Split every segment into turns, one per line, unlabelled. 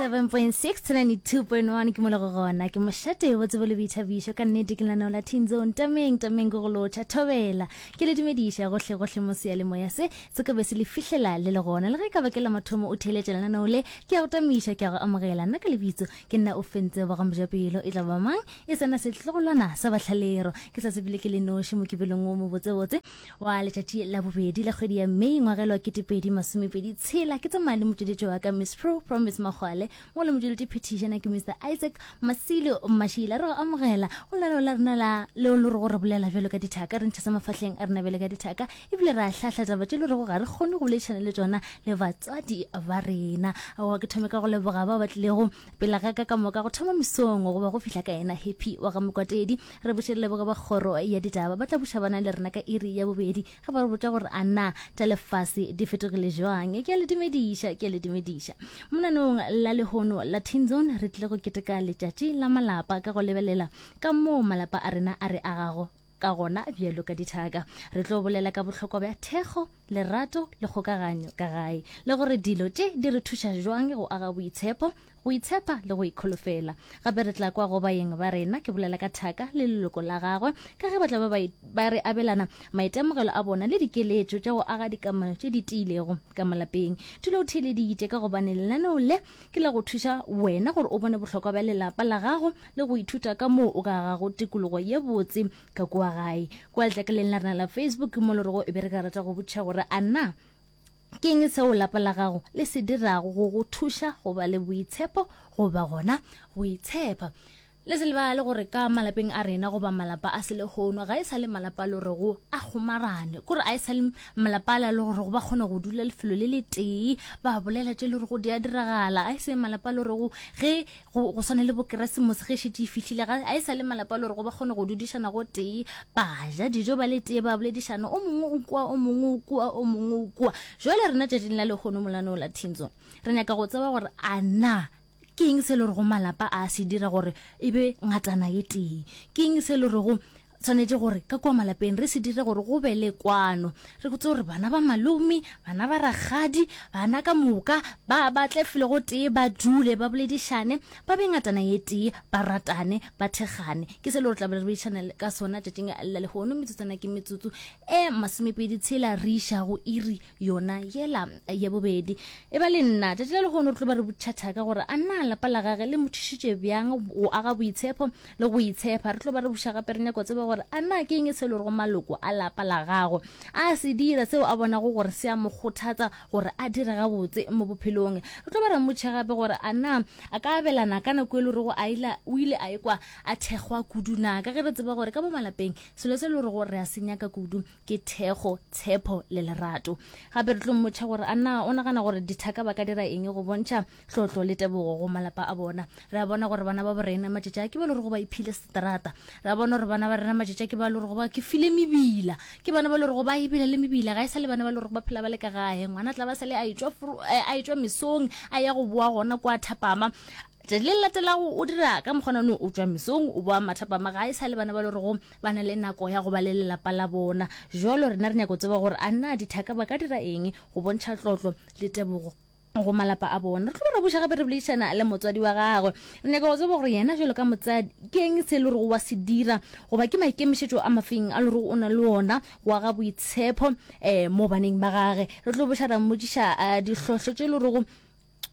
107.6 to 92.1 ke mo le go gona ke mošate bo tsebo le boithabišo ka nnete ke lenaneo la teen zone tameng tameng ke go lotšha thobela ke le dumediša gohle gohle mo seyalemoya se se ka be se le fihlela le le gona le ge e ka ba ke la mathomo o theeletša lenaneo le ke a go tamiša ke a go amogela nna ka lebitso ke nna o fentse wa ga mojapelo e tla ba mang e sena setlogolwana sa bahlalero ke sa sepele ke le noši mokibelong wo mobotsebotse wa letšatši la bobedi la kgwedi ya May ngwagelo wa 2026. Ke tsamaya le motšweletši wa ka Miss Pro Promise Magwale mo le motšweletši phetišana ke Mr Isaac Masilo Mashila. Re go amogela go lenaneo la rena la leo le rego re bolela bjalo ka dithaka, re ntšha sa mafahleng a rena bjalo ka dithaka, ebile re a hlahla taba tše le rego ga re kgone go boledišana le tšona le batswadi ba rena. Aowa ke thome ka go leboga bao ba tlilego pela ga ka ka moka go thoma mesong goba go fihla ka yena Happy wa ga Mokwatedi. Re buše re leboge ba kgoro ya ditaba ba tla buša bana le rena ka iri ya bobedi ge ba re botša gore a na tša lefase di fetogile jwang. Ke a le dumediša, ke a le dumediša. Monanong la lehono la Teen Zone re tlile go keteka letšatši la malapa ka go lebelela ka moo malapa a rena a re agago ka gona bjalo ka dithaka. Re tlo bolela ka bohlokwa bja thekgo, lerato le kgokaganyo ka gae, le gore dilo tše di re thuša jwang go aga boitshepo, go itshepa le go ikholofela. Gape re tla kwa go baeng ba rena, ke bolela ka thaka le leloko la gagwe, ka ge ba tla ba ba re abelana maitemogelo a bona le dikeletšo tša go aga dikamano tše di tiilego ka malapeng. Dula o theeleditše ka gobane lenaneo le ke la go thuša wena gore o bone bohlokwa bja lelapa la gago le go ithuta ka moo o ka agago tikologo ye botse ka kua gae. Kua letlakaleng la rena la Facebook mo le rego e be re ka rata go botšiša gore a na Ke eng seo lapa la gago le se dirago go go thuša go ba le boitshepo goba gona go itshepa? Le se lebale gore ka malapeng a rena goba malapa a selehono ga e sa le malapa a le gorego a kgomarane, kore a e sa le malapa a le gorego ba kgona go dula lefelo le letee ba bolela tše le gorego di a diragala. A e se malapa a le gorego ge go, go swana le bokeresemose ge e šetše e fihlile, ga a e sa le malapa a le gore ba kgone go dudišana go tee, ba ja dijo ba le tee, ba boledišana, o mongwe o kua, o mongwe o kua, o mongwe o kua. Jwale rena tšatšing la lehono molaneo la Thinzo, re nyaka go tseba gore a na ke eng se le rego malapa a se dira gore e be ngatana ye tee? Ke eng se le rego Tshwanetše gore ka kua malapeng re se dire gore go be le kwano. Re botse gore bana ba malome, bana ba rakgadi, bana ka moka ba ba tle felo go tee, ba dule, ba boledišane, ba be ngatana ye tee, ba ratane, ba thekgane. Ke se le gore tla be re boledišana ka sona tšatšing la lehono. Metsotswana ke metsotso e masomepedi tshela re iša go iri yona yela ya bobedi. E ba le nna tšatši la lehono re tlo ba re botšhatha ka gore a na lapa la gage le mo thušitše bjang go aga boitshepo le go itshepa. Re tlo ba re buša gape re nyaka go tseba gore a na ke eng se le gore maloko a lapa la gago a se dira seo a bonago gore se a mo kgothatsa gore a dire gabotse mo bophelong. Re tlo ba re mmotšha gape gore a na a ka abelana ka nako e le gorego a ila o ile a ekwa a thekgwa kudu na, ka ge re tseba gore ka mo malapeng selo se le gore re a se nyaka kudu ke thekgo, tshepo le lerato. Gape re tlo mmotšha gore a na o nagana gore dithaka ba ka dira eng go bontšha tlotlo le tebogo go malapa a bona. Re a bona gore bana ba bo rena matšatši a ke ba le gore ba iphile seterata. Re a bona gore bana ba rena matšatši a ke ba le gore ba ke file mebila. Ke bana ba le gore ba ebile le mebila, ga e sa le bana ba le gore ba phela ba le ka gae. Ngwana tla ba sa le a etšwa a etšwa mesong a ya go boa gona kwa thapama. Tšatši le le latelago o dira ka mokgwana o tšwa mesong o boa mathapama, ga e sa le bana ba le gore ba na le nako ya go ba le lelapa la bona. Jwalo rena re nyaka go tseba gore a na dithaka ba ka dira eng go bontšha tlotlo le tebogo go malapa a bona. Re tlo ba ra buša gape re boledišana le motswadi wa gagwe. Re nyaka go tseba gore yena jwalo ka motsadi ke eng se e le gore wa se dira goba ke maikemišetšo a mafeng a le gore o na le ona go aga boitshepo um mo baneng ba gage. Re tlo buša ra mmotšiša eh, dihlohlo tše e le gorego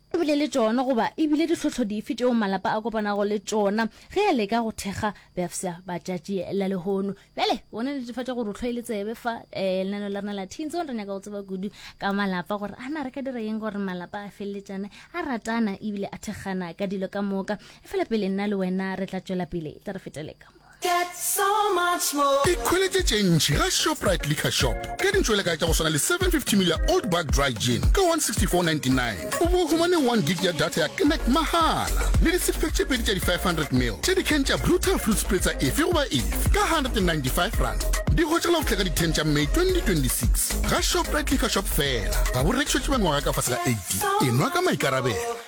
o bile le tšona goba e bile ditlhohlo dife tšeo malapa a kopanago le tšona ge a leka go thekga bafsa ba tšatši la lehono. Bjale bona netefatša gore o hlwaile tsebe fa um lenaneo la rena la Teen Zone. Re nyaka go tseba kudu ka malapa gore a na re ka dira eng gore malapa a feleletšane a ratana ebile a thekgana ka dilo ka moka. Efela pele nna le wena re tla tšwela pele, tla re fetele ka mo.
Get so much more.
Ikhweletše tše ntši ga Shoprite Liquor Shop ka dintšwelekae tša go swana le 750 ml ya Old Buck Dry Gin ka 164.99, o bo humane 1 gig ya data ya Connect mahala le di six pack tše pedi tša di 500 ml tša di-can tša Brutal Fruit Spritzer efe goba efe ka R195. Di hwetšagala go fihla ka di 10 tša May 2026 ga Shoprite Liquor Shop fela. Ga bo rekišetšwe ba mengwaga ka fase ga 18. Enwa ka maikarabelo.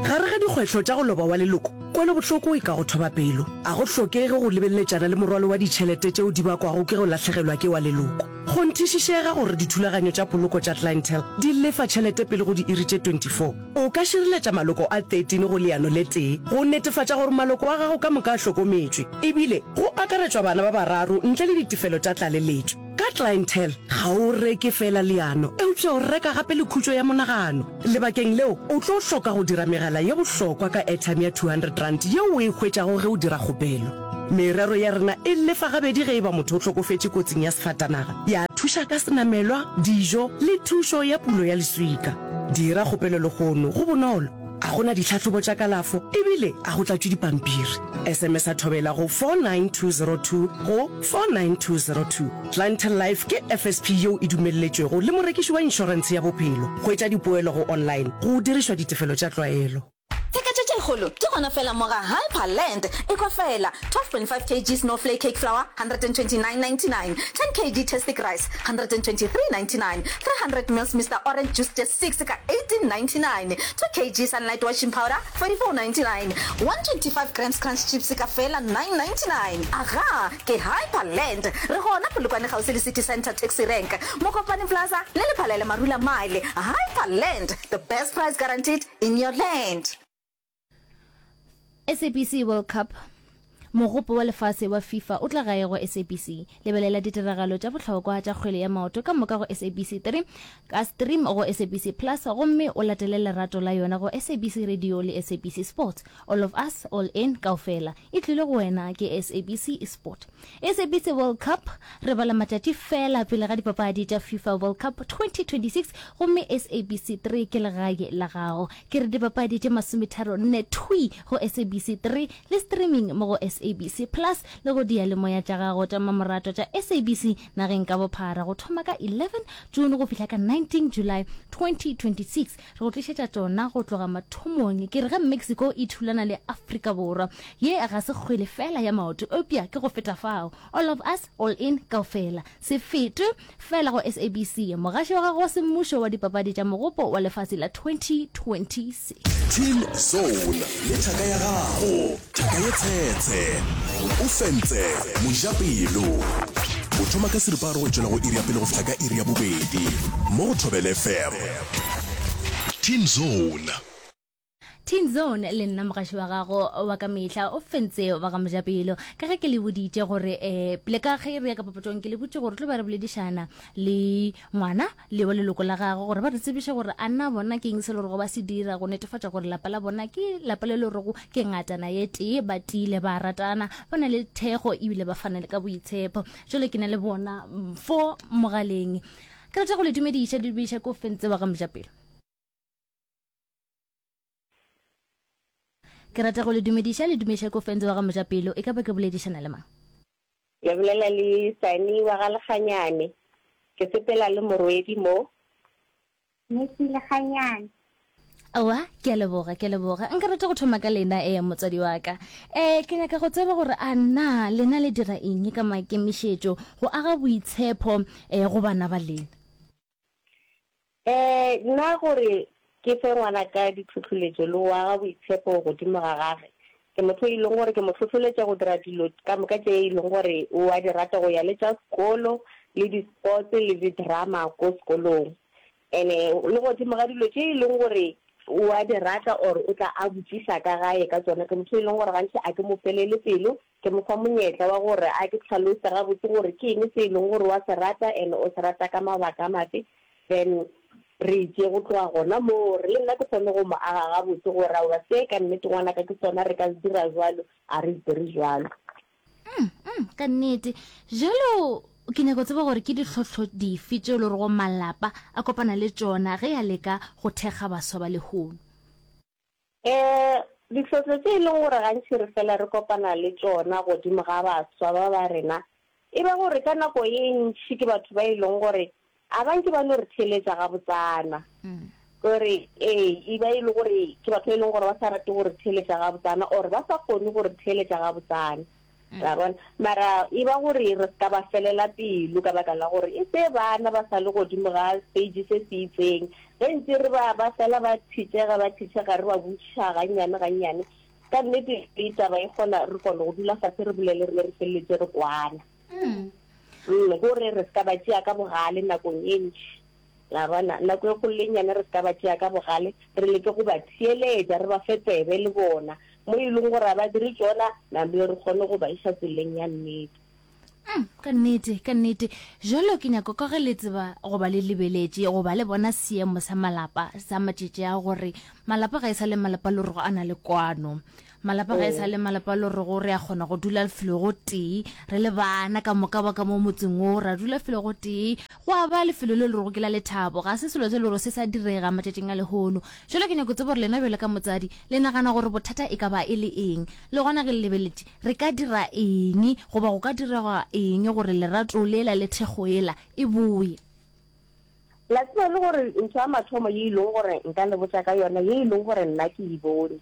Gare ga dikgwetlho tša go loba wa leloko. Kwelobohloko e ka go thoba pelo. A go hlokege go lebeleletšana le morwalo wa ditšhelete tšeo di bakwago ke go lahlegelwa ke wa leloko. Kgonthišišega gore dithulaganyo tša poloko tša Clientele di lefa tšhelete pele go diiri tše 24. O ka šireletša maloko a 13 go leano le tee go netefatša gore maloko a gago ka moka a hlokometšwe, ebile go akaretšwa bana ba bararo ntle le ditefelo tša tlaleletšo. Ka Clientele, ga o reke feela leano, eupša o reka gape le khutšo ya monagano. Lebakeng leo, o tlo hloka go dira megala ye bohlokwa ka airtime ya R200 yeo o e hwetšago ge o dira kgopelo. Merero ya rena e lefa gabedi ge e ba motho o hlokofetše kotsing ya sefatanaga, ya thuša ka senamelwa, dijo le thušo ya pulo ya leswika. Dira kgopelo lehono, go bonolo, a go na ditlhahlobo tša kalafo ebile a go tlatšwe dipampiri. SMS-a Thobela go 49202 go 49202. Clientele Life ke FSP yeo e dumelletšwego le morekiši wa inšorentshe ya bophelo. Hwetša dipoelo go online go dirišwa ditefelo tša tlwaelo.
Tsheketšo tše kgolo di gona fela mo ga Hyperland. Ekwa fela, 12.5 kg Snowflake cake flour, 129.99, 10 kg Tastic rice, 123.99, 300 mils Mister Orange juice tše 6 ka 18.99, 2 kg Sunlight washing powder, 44.99, 125 grams Crunch chips ka fela 9.99. Agaa! Ke Hyperland. Re gona Polokwane kgauswi le City Centre Taxi Rank, Mokopane Plaza le Lephalele Marula Mile. Hyperland, the best price guaranteed in your land.
SABC World Cup, Mogopo wa lefase wa FIFA o tla gae go SABC. Lebelela ditiragalo tša bohlokwa tša kgwele ya maoto ka moka go SABC 3 ka stream go SABC Plus gomme o latele lerato la yona go SABC Radio le SABC Sports. All of us, all in, kaofela. E tlile go wena ke SABC Sport. SABC World Cup, Re bala matšatši feela pele ga dipapadi tša FIFA World Cup 2026 gomme SABC 3 ke legae la gago. Ke re dipapadi tše masometharo nne thwi go SABC 3 le streaming mo go SABC Plus le go diyalemoya tša gago tša mmamoratwa tša SABC nageng ka bophara go thoma ka 11 June go fihla ka 19 July 2026. Re go tlišetša tšona go tloga mathomong. Ke re ge Mexico e thulana le Afrika Borwa, ye ga se kgwele feela ya maoto, eupša ke go feta fao. All of us, all in, kaofela. Se fetwe feela go SABC, mogaši wa gago wa semmušo wa dipapadi tša Mogopo wa Lefase la 2026.
Teen Zone le thaka ya gago, thaka ye tshetshe, o fentse mojapelo. O thoma ka seripagare go tšwela go iri ya pele go fihla ka iri ya bobedi mo go Thobela FM. Teen Zone.
Teen Zone le nna mogaši wa gago wa ka mehla o fentse wa ga mojapelo. Ka ge ke le boditše gore um pele ka ge re ya ka papatšong ke le botše gore tlo ba re boledišana le ngwana le wa leloko la gagwe gore ba re tsebiše gore a na bona ke eng se le gorego ba se dira go netefatša gore lapa la bona ke lapa le le gorego ke ngatana ye tee, ba tiile, ba ratana, ba na le thekgo ebile ba fana le ka boitshepo. Jale ke na le bona fo mogaleng. Ke rata go le dumediša, le dumediša ko fentse wa ga mojapelo. Ke rata go le dumediša, le dumediša ko fentse wa ga mojapelo. E ka ba ke boledišana le mang?
Le bolela le Sani wa ga Lekganyane. Ke sepela le morwedi mo.
Messi Lekganyane.
Aowa, ke a leboga, ke a leboga. Nka rata go thoma ka lena, ee, motswadi wa ka. Um, ke nyaka go tseba gore a na lena le dira eng ka maikemišetšo go aga boitshepho um go bana ba lena?
Um, nna gore ke fe ngwanaka ditlhohloletšo le go aga boitshepo godimo ga gage, ke motho e leng gore ke mo hlohloletša go dira dilo ka moka tše e leng gore o a di rata, go ya le tša sekolo le di-sports le di-drama ko sekolong. Ene le godimo ga dilo tše e leng gore o a di rata or o tla a botšiša ka gae ka tšona, ke motho e leng gore gantši a ke mo felele pelo, ke mo fa monyetla wa gore a ke hlalose gabotse gore ke eng se e leng gore wa se rata and o se rata ka mabaka a mafe, then re tšee go tloga gona moo gore le nna ke kgone go mo aga gabotse gore aowa se ka nnete ngwanaka ke sona re ka se dira jwalo, a re se dire jwalo.
Mm, mm, ka nnete jalo ke nyako tseba gore ke ditlhohlo dife tše e le gorego malapa a kopana le tšona ge a leka go thekga baswa ba lehono.
Um ditlhohlo tše e leng gore gantši re fela re kopana le tšona godimo ga baswa ba ba rena e ba gore ka nako ye ntši ke batho ba e leng gore a ba nke ba no re theeletša gabotsana. Kore ee, e ba e le gore ke batho ba e leng gore ba sa rate go re theeletša gabotsana or ba sa kgone go re theeletša gabotsana. Ra bona? Mara e ba gore re se ka ba felela pelo ka baka la gore e se bana ba sa le godimo ga stage se se itseng. Ge ntse re ba ba fela ba thitšega ba thitšega re ba botšiša gannyane gannyane. Ka nnete le taba e kgona re kgona go dula fase re bolele re be re feleletše re kwana. Mm. Mm, gore re se ka ba tšea ka bogale nakong e ntši. La bona, nako e kgolo le e nnyane re se ka ba tšea ka bogale, re leke go ba theeletša, re ba fe tsebe le bona. Mo e leng gore ga ba dire tšona, namile re kgone go ba iša tseleng ya nnete.
Mm, ka nnete, ka nnete. Jalo ke nyako ka ge le tseba goba le lebeletše goba le bona seemo sa malapa sa matšetši a gore malapa ga e sa le malapa le rego a na le kwano. Malapa ga e sa le malapa le rego re a kgona go dula felo go tee re le bana ka moka ba ka mo motseng wo ra dula felo go tee go a ba lefelo le le rego ke la lethabo ga se selo se le gore se sa direga matšatšing a lehono. Jalo ke nyako tseba gore lena bjalo ka motsadi le nagana gore bothata e ka ba e le eng le gona ge le lebeletše Re ka dira eng goba go ka direga eng gore lerato lela le thekgo yela e boye?
La tseba le gore ntho ya mathomo ye e leng gore nka le botša ka yona, ye e leng gore nna ke e bone,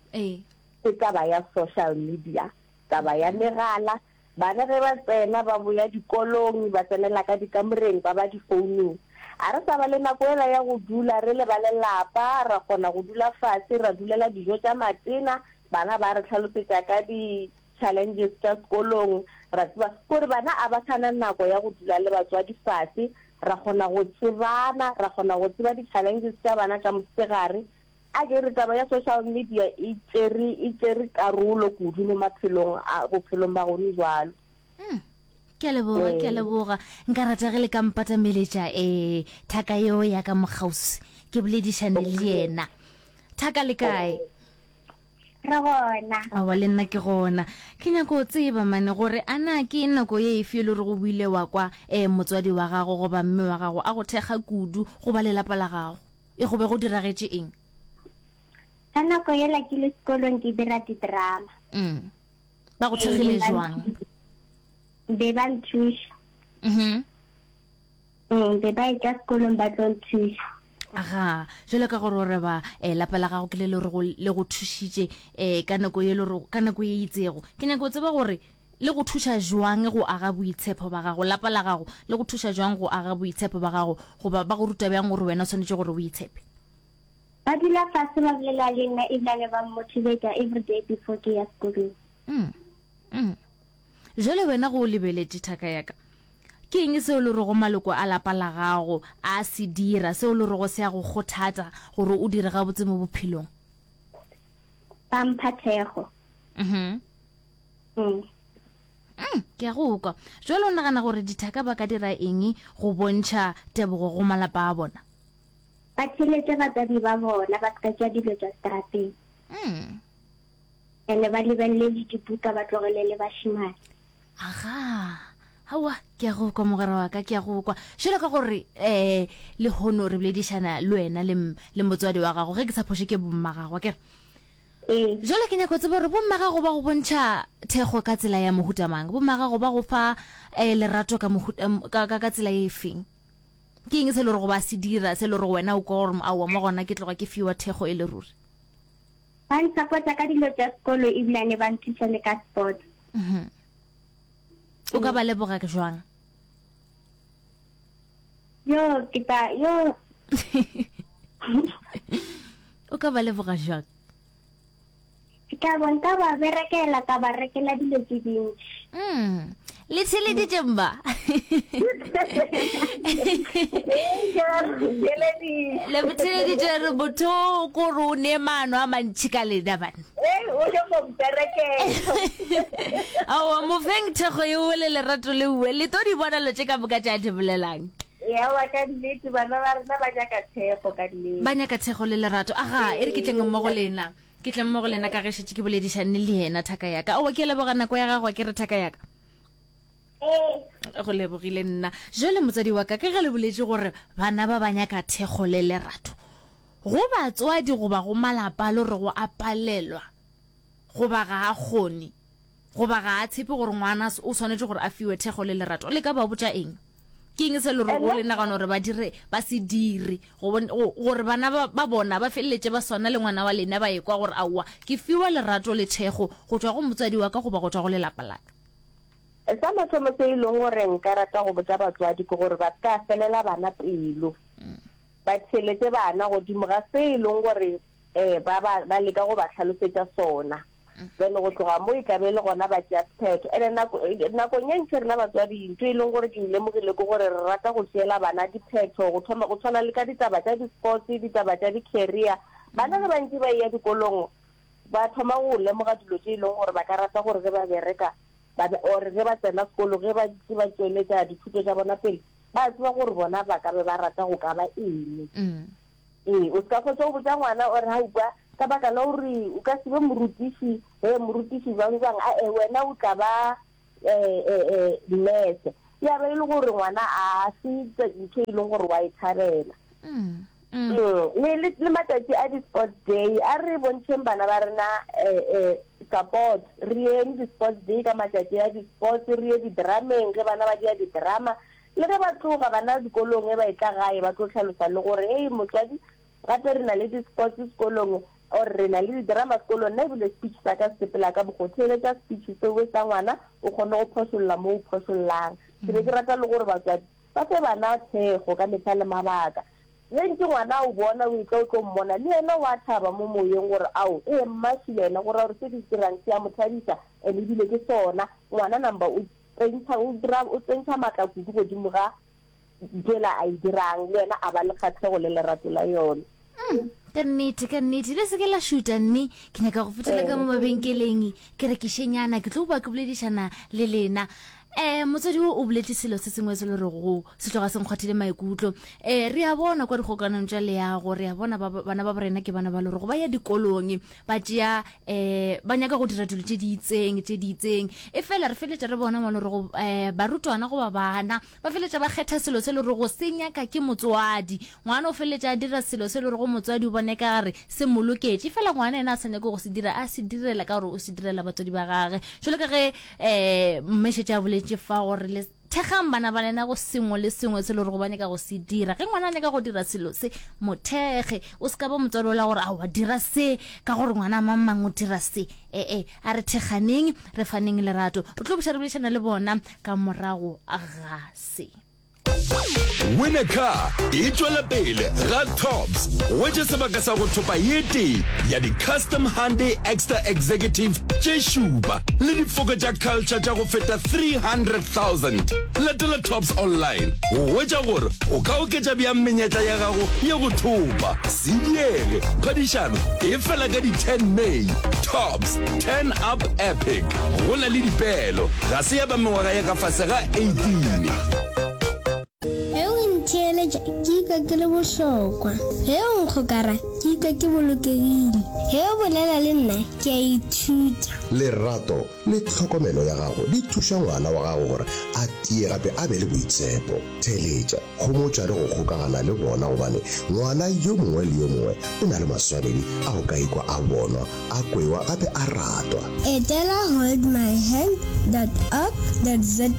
ke taba ya social media, taba ya megala. Bana ge ba tsena ba boya dikolong, ba tsenela ka dikamoreng, ba ba difounung. A re sa ba le nako yela ya go dula re le ba lelapa, ra kgona go dula fase, ra dulela dijo tša matena, Bana ba re hlalosetša ka di challenges tša sekolong, ra tseba gore bana a ba sa na nako ya go dula le batswadi fase, ra kgona go tsebana, ra kgona go tseba di challenges tša bana tša mosegare. A ke re taba ya social media e tšere e tšere karolo kudu mo maphelong a bophelong ba gone jwalo.
Mm. Ke a leboga, ke a leboga. Nka rata ge le ka mpatameletša eh thaka yeo ya ka mokgauswi ke boledišane le yena. Thaka le kae?
Re gona.
Aowa le nna ke gona. Ke nyako go tseba mane gore a na ke nako ye efe e le gore o ile wa kwa um motswadi wa gago goba mme wa gago a go thekga kudu goba lelapa la gago. E go be go diragetše eng?
Ka nako yela ke le sekolong ke dira di-drama.
Mm. Ba go thekgile jwang?
Be ba nthuša.
Mhm.
Mm, be ba etla sekolong ba tlo nthuša.
Aga, jwalo ka gore o re ba eh, lapa la gago ke le le go le go thušitše eh, ka nako ye le ka nako ye itsego. Ke nyaka go tseba gore le go thuša jwang go aga boitshepo ba gago, lapa la gago le go thuša jwang go aga boitshepo ba gago, goba ba go ruta bjang gore wena o swanetše gore o itshepe?
Ba dula fase ba bolela le nna ebilane ba mmotivata everyday before ke ya sekolong.
Mm. Mm. Jwale wena go o lebeletše thaka ya ka, Ke eng seo le rego maloko a lapa la gago a se dira seo le rego se a go kgothatša gore o dire gabotse mo bophelong?
Ba mpha thekgo.
Mhm.
Mm.
Mm, ke a go kwa. Jwale o nagana gore dithaka ba ka dira eng go bontšha tebogo go malapa a bona?
Ba theeletše batswadi ba bona, ba se ka tšea dilo tša seterateng.
Mm.
Ene ba lebelele le dibuka, ba tlogele le bašemane.
Aga, aowa, ke a go kwa mogwera wa ka, ke a go kwa. Jwalo ka gore um lehono re boledišana le wena le, le motswadi wa gago, ge ke sa phoše ke bomma gago, akere?
Ee.
Jwale ke nyaka go tseba gore bomma gago ba go bontšha thekgo ka tsela ya mohuta mang? Bomma gago ba go fa um lerato ka mohuta, ka, ka, ka tsela e feng? Ke eng se e le gore ba se dira, se e le gore wena o kwa gore aowa mo gona ke tloga ke fiwa thekgo e le ruri?
Ba nsapota ka dilo tša sekolo ebilane ba nthuša le ka sports.
Mhm. O ka ba leboga jwang?
Yo, ke ta, yo.
O ka ba leboga jwang?
Ke tla bo nka ba berekela ka ba rekela dilo tse dintši.
Mm. Le theleditše mma. Le theleditše re motho ko re o ne maano a mantši ka lena bana.
Ee, o nyoko mperekela.
Aowa, mofeng thekgo eo le lerato le uwe. Le tlo di bona lo tše ka moka tše a di bolelang.
Ewa, ka nnete, bana ba rena ba nyaka thekgo, ka nnete.
Ba nyaka thekgo le lerato. Aga, e re ke tleng mmogo le lena. Ke tleng mmogo le lena ka ge šetše ke boledišane le yena, thaka ya ka. Aowa, ke a leboga nako ya gago, a ke re thaka ya ka.
Ee.
Go lebogile nna. Jwale motswadi wa ka, ka ge le boletše gore bana ba ba nyaka thekgo le lerato, Go batswadi goba go malapa a le rego a palelwa goba ga a kgone goba ga a tshepe gore ngwana o swanetše gore a fiwe thekgo le lerato, le ka ba botša eng? Ke eng se le rego le nagana gore ba dire ba se dire gore bana ba bona ba feleletše ba swana le ngwana wa lena ba ekwa gore aowa ke fiwa lerato le thekgo go tšwa go motswadi wa ka goba go tšwa go lelapa la ka?
Sa mathomo se e leng gore nka rata go botša batswadi ke gore ba se ka felela bana pelo. Ba theeletše bana godimo ga se e leng gore ba, ba, ba leka go ba hlalosetša sona. Then go tloga mo e tla be e le gona ba tšea sephetho. And-e nako, nakong e ntši rena batswadi ntho e leng gore ke e lemogile ke gore re rata go tšeela bana diphetho go thoma go tshwana le ka ditaba tša di-sports, ditaba tša di-career. Bana ge ba ntše ba eya dikolong ba thoma go lemoga dilo tše e leng gore ba ka rata gore ge ba bereka ba be, or ge ba tsena sekolo ge ba ntše ba tšweletša dithuto tša bona pele, ba tseba gore bona ba ka be ba rata go ka ba eng. Ee, o se ka fetša o botša ngwana o re, Aowa, ka baka la gore o ka se be morutiši, he, morutiši bjang bjang, a-e, wena o tla ba nurse. Ya ba e le gore ngwana a se ntho e leng gore wa e thabela. Le, le, le matšatši a di-sports day, a re bontšheng bana ba rena support. Re yeng di-sports day ka matšatši a di-sports, re ye di-drameng ge bana ba dia di-drama. Le ge ba tloga bana dikolong ge ba etla gae ba tlo hlalosa le gore hei motswadi gape re na le di-sports sekolong or re na le di-drama sekolong nna ebile speech sa ka se sepela ka mokgo theeletša speech seo sa ngwana o kgone go phošolla mo o phošollang. Ke be ke rata le gore batswadi ba fe bana thekgo ka mehla le mabaka. Ge ntše ngwana a o bona o etla o tlo mmona le yena o a thaba mo moyeng gore ao ee mma šile yena go ra gore se ke se dirang se a mo thabiša and ebile ke sona ngwana number o Tsentšha, o dira, o tsentšha matla kudu godimo ga ntho ela a e dirang, le yena a ba le kgahlego le lerato la yona.
Mm, ka nnete, ka nnete. Le se ke la šuta, mme ke nyaka go fetela ka mo mabenkeleng, ke rekišenyana, ke tlo boa ke boledišana le lena. Um motswadi o o boletše selo se sengwe se le rego se tloga se nkgwathile maikutlo. Um re a bona kwa dikgokanong tša leago, re a bona ba, bana ba borena ke bana ba le rego ba ya dikolong, ba tšea um ba nyaka go dira dilo tše di itseng tše di itseng e fela re feleletša re bona mo le rego um barutwana goba bana ba feleletša ba kgetha selo se le rego se nyaka ke motswadi ngwana o feleletša a dira selo se le rego motswadi o bone ka gare se mo loketše fela ngwana ena a sa nyake go se dira a se direla ka gore o se direla batswadi ba gage jalo ka ge um mme šetše a boletše fa gore le Thekgang bana ba lena go sengwe le sengwe se le gore ba nyaka go se dira. Ge ngwana a nyaka go dira selo se, mo thekge. O se ka ba motswadi ola gore aowa dira se ka gore ngwana mang mang o dira se. Ee, a re thekganeng, re faneng lerato. Re tlo buša re boledišana le bona ka morago ga se.
Win a Car e tšwela pele ga Tops. Hwetša sebaka sa go thopa ye tee ya di-Custom Hyundai Exter Executive tše šupa le difoka tša Culture tša go feta 300,000. Latela Tops Online go hwetša gore o ka oketša bjang menyetla ya gago ya go thopa. Se diege, phadišano e fela ka di 10 May. Tops, Turn Up Epic. Go na le dipeelo, ga se ya ba mengwaga ya ka fase ga 18.
Ge o ntheeletša, ke ikwa ke le bohlokwa. Ge o nkgokara, ke ikwa ke bolokegile. Ge o bolela le nna, ke a ithuta.
Lerato le tlhokomelo ya gago di thuša ngwana wa gago gore a tie gape a be le boitshepo. Theeletša, homotša le go kgokagana le bona gobane ngwana yo mongwe le yo mongwe o na le maswanedi a go ka ikwa a bonwa, a kwewa gape a ratwa.
Etela holdmyhand dot org dot za.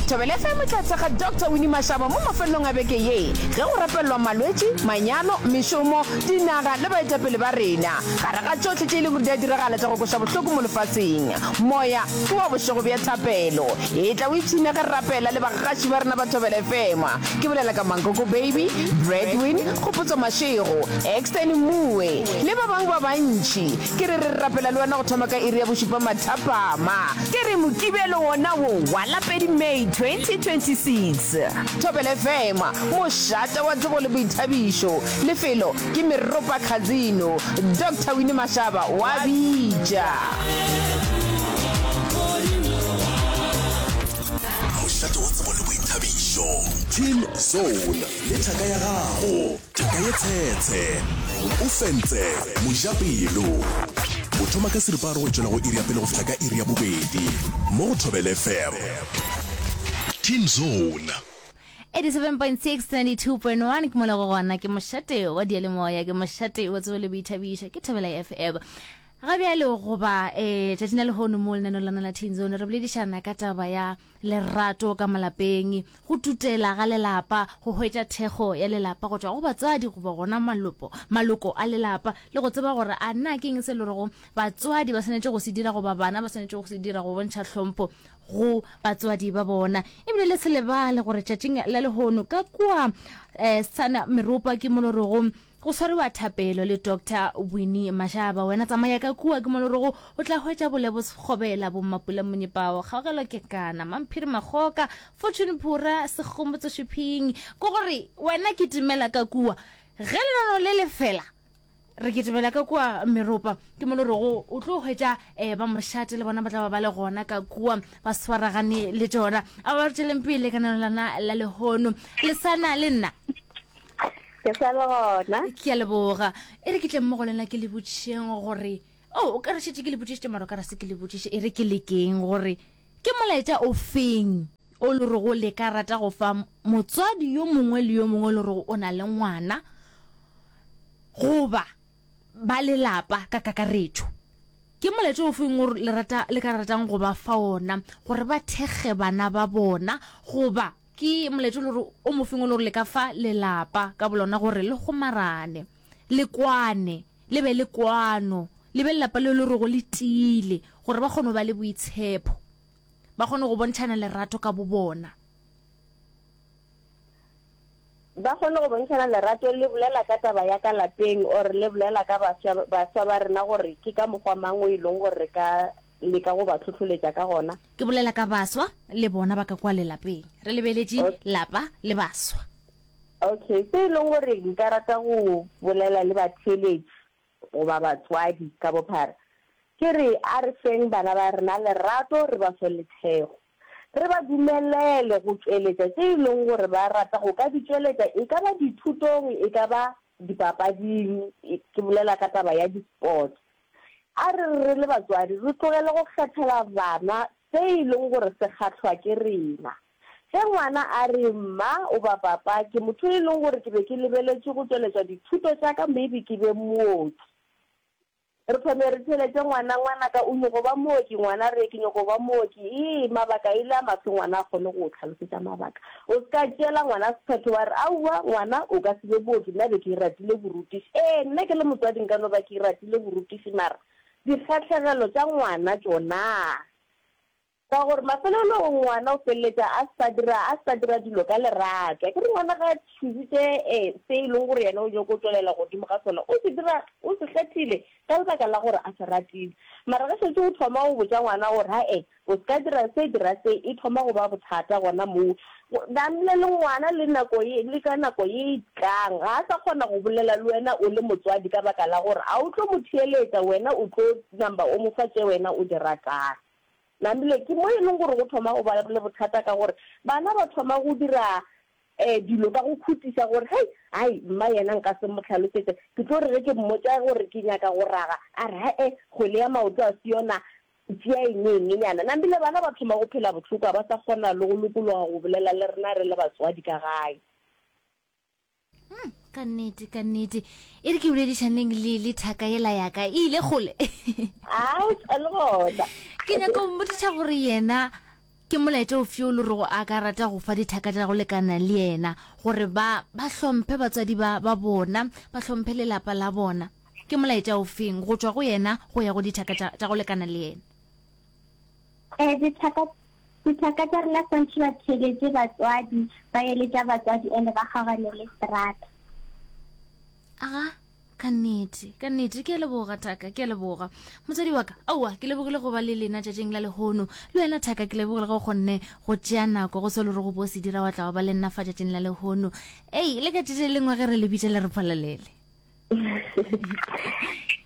Thobela FM e tla thekga Doctor Winnie Mashaba mo mafelelong a beke ye ge go rapelelwa malwetši, manyalo, mešomo, dinaga le baetapele ba rena. Gare ga tšohle tše e lego gore di a diragala tša go kweša bohloko mo lefaseng, moya ke wa bošego bja thapelo. Etla o ipshine ge re rapela le bagaši ba rena ba Thobela FM. Ke bolela ka Mankoko Baby, Bradwin, Kgopotso Mashego, Exton Mmuwe le ba bangwe ba bantši. Ke re re rapela le wena go thoma ka iri ya bošupa mathapama. Ke re Mokibelo wona wo wa la pedi May 2026. Thobela FM, mošate wa tsebo le boithabišo. Lefelo ke Meropa Casino. Doctor Winnie Mashaba wa bitša.
Mošate wa tsebo le boithabišo. Teen Zone le thaka ya gago. Thaka ye tshetshe. O fentse mojapelo. O thoma ka seripagare go tšwela go iri ya pele go fihla ka iri ya bobedi mo go Thobela FM. Teen Zone.
87.6 92.1 ke mola go gona ke mošate wa diyalemoya ke mošate wa tsebo le boithabišo ke Thobela FM. Ga bjale goba eh tšatšing la lehono mo lenaneo lana la Teen Zone re boledišana ka taba ya lerato ka malapeng, go tutela ga lelapa, go hwetša thekgo ya lelapa go tšwa go batswadi goba gona malopo, maloko a lelapa le go tseba gore a na ke eng se le rego batswadi ba swanetše go se dira goba bana ba swanetše go se dira go bontšha hlompho. go batswadi ba bona. Ebile le se lebale gore tšatšing la lehono ka kua um sana meropa ke mo le rego go swariwa thapelo le Doctor Winnie Mashaba. Wena tsamaya ka kua ke mo le rego o tla hwetša Bolebo Sekgobela, Bommapula Monyepao, Kgaogelo Kekana, Mamphiri Makgoka, Fortune Phura, Segomotso Shiphing. Ke gore wena kitimela ka kua ge lenaneo le le fela. Re kitimela ka kua meropa, ke mo le rego o tlo hwetša um ba mošate le bona ba tla ba ba le gona ka kua ba swaragane le tšona. A ba re tšweleng pele ka nano lana la lehono. Le sana le nna?
Ke sa le gona.
Ke a leboga. E re ke tle mmogo le nna ke le botšišeng gore, oh, o ka re šetše ke le botšišitše mara o ka re se ke le botšiše. E re ke lekeng gore ke molaetša o feng o le rego le ka rata go fa motswadi yo mongwe le yo mongwe le rego o na le ngwana goba ba lelapa ka kakaretšo. Ke molaetša o feng o le rata le ka ratang go ba fa ona gore ba thekge bana ba bona goba ke molaetša o le gore o mofeng o le gore le ka fa lelapa ka bolona gore le kgomarane, le kwane, le be le kwano, le be lelapa le le rego le tiile gore ba kgone go ba le boitshepo, ba kgone go bontšhana lerato ka bobona.
Ba kgone go bontšhana lerato le bolela ka taba ya ka lapeng or le bolela ka baswa baswa ba rena gore ke ka mokgwa mang o e leng gore re ka leka go ba hlohloletša ka gona.
Ke bolela ka baswa le bona ba ka kwa lelapeng. Re lebeletše lapa le baswa.
Okay, se e leng gore nka rata go bolela le batheeletši goba batswadi ka bophara ke re a re feng bana ba rena lerato re ba fe le thekgo. Re ba dumelele go tšweletša tše e leng gore ba rata go ka di tšweletša, e ka ba dithutong, e ka ba dipapading, ke bolela ka taba ya di-sports. A re re le batswadi re tlogele go kgethela bana se e leng gore se kgahlwa ke rena. Ge ngwana a re, Mma goba Papa, ke motho e leng gore ke be ke lebeletše go tšweletša dithuto tša ka maybe ke be mooki. Re thome re theeletše ngwana, Ngwanaka, o nyoko ba mooki? Ngwana re, Ke nyoko ba mooki. Ee, mabaka e le a mafe ngwana a kgone go o hlalosetša mabaka. O se ka tšeela ngwana sephetho wa re, Aowa, ngwana, o ka se be mooki, nna be ke ratile borutiši. Ee, nna ke le motswadi nka no ba ke ratile borutiši mara dikgahlegelo tša ngwana tšona? Ka gore mafelelong ngwana o feleletša a sa dira a sa dira dilo ka lerato. Akere ngwana ga a choositše se e leng gore yena o nyoko tšwelela godimo ga sona, o se dira o se kgethile ka lebaka la gore a se ratile. Mara ge šetše o thoma go botša ngwana gore ha-e o se ka dira se dira se, e thoma go ba bothata gona moo. Namile le ngwana le nako ye le ka nako ye e tlang ga a sa kgona go bolela le wena o le motswadi ka baka la gore ga o tlo mo theeletša, wena o tlo namba o mo fa tše wena o di ratang. Namile ke mo e leng gore go thoma go ba le bothata ka gore bana ba thoma go dira dilo ka go khutiša gore hei, hai, mma yena nka se mo hlalosetše, ke tlo re ge ke mmotša gore ke nyaka go raga, a re he-e, kgwele ya maoto a se yona, tšea eng eng nyana. Namile bana ba thoma go phela bohloko, ga ba sa kgona le go lokologa go bolela le rena re le batswadi ka gae.
Hmm, ka nnete ka nnete e re ke boledišaneng le le thaka yela yaka e ile kgole ke nyaka go mmotšiša gore yena ke molaetša ofe o le rego a ka rata go fa dithaka tša go lekana le yena gore ba ba hlomphe batswadi ba ba bona ba hlomphe lelapa la bona ke molaetša ofeng go tšwa go yena go ya go dithaka tša go lekana le yena
um dithaka Dithaka tša rena swantšhe ba theeletše batswadi, ba eletša batswadi ene ba kgaogane le strata.
Aga, ka nnete, ka nnete, ke a leboga thaka, ke a leboga. Motswadi wa ka, aowa, ke lebogile go ba le lena tšatšing la lehono. Le wena thaka, ke lebogile ge o kgonne go tšea nako go se le gore go bo se dira wa tla wa ba le nna fa tšatšing la lehono. Ei, le ka tšatši le lengwe ge re le bitša le re phalalele.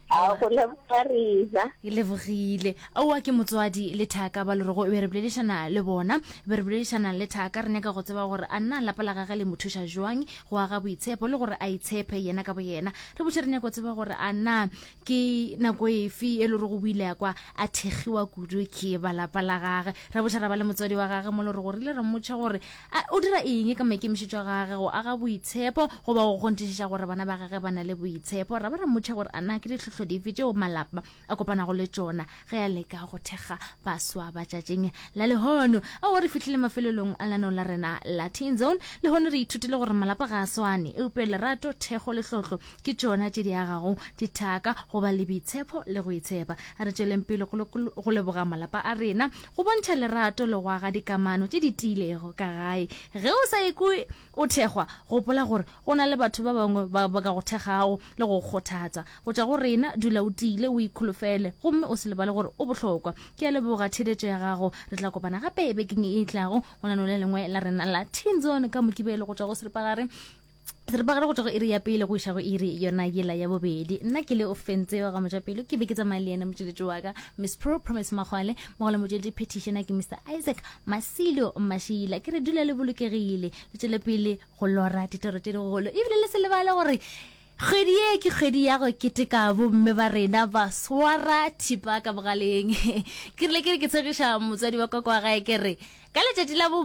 A go leboga rena.
Ke lebogile. Aowa ke motswadi le thaka ba lorego e be re boledišana le bona, be re boledišana le thaka re nyaka go tseba gore a nna lapa la gage le mo thuša jwang go aga boitshepo le gore a itshepe yena ka boyena. Re botše re nyaka go tseba gore a na ke nako efe e lorego o ile a kwa a thekgiwa kudu ke ba lapa la gage. Ra botša ra ba le motswadi wa gage mo lorego re ile ra mmotša gore A o dira eng ka maikemišetšo a gage go aga boitshepo goba go kgonthišiša gore bana ba gage ba na le boitshepo? Ra ba ra mmotša gore a na ke ditlhohlo. ditlhohlo dife tšeo malapa a kopanago le tšona ge a leka go thekga baswa ba tšatšing la lehono. Ao re fihlile mafelelong a lenaneo la rena la Teen Zone. Lehono re ithutile gore malapa ga a swane, eupša lerato, thekgo le tlotlo ke tšona tše di agago dithaka, go ba le boitshepo le go itshepa. A re tšweleng pele go leboga malapa a rena, go bontšha lerato le go aga dikamano tše di tiilego ka gae. Ge o sa ikwe o thekgwa, gopola gore go na le batho ba bangwe ba ba ka go thekgago le go go kgothatsa. Go tšwa go rena, dula o tiile, o ikholofele gomme o se lebale gore o bohlokwa. Ke a leboga theeletšo ya gago. Re tla kopana gape bekeng e tlago go lenaneo le lengwe la rena la Teen Zone ka Mokibelo go tšwa go seripagare seripagare go tšwa go iri ya pele go iša go iri yona yela ya bobedi. Nna ke le Ofentse wa ga Mojapelo, ke be ke tsamaya le yena motšweletši wa ka Miss Pro Promise Magwale, mogolo motšweletši petitioner ke Mr Isaac Masilo Mashila. Ke re dula le bolokegile, le tšwele pele go lora ditoro tše digolo, ebile le se lebale gore Kgwedi ye ke kgwedi ya go keteka bomme ba rena ba swara thipa ka bogaleng. Ke rile ke re ke tshegiša motswadi wa ka kwa gae ke re ka letšatši la bo.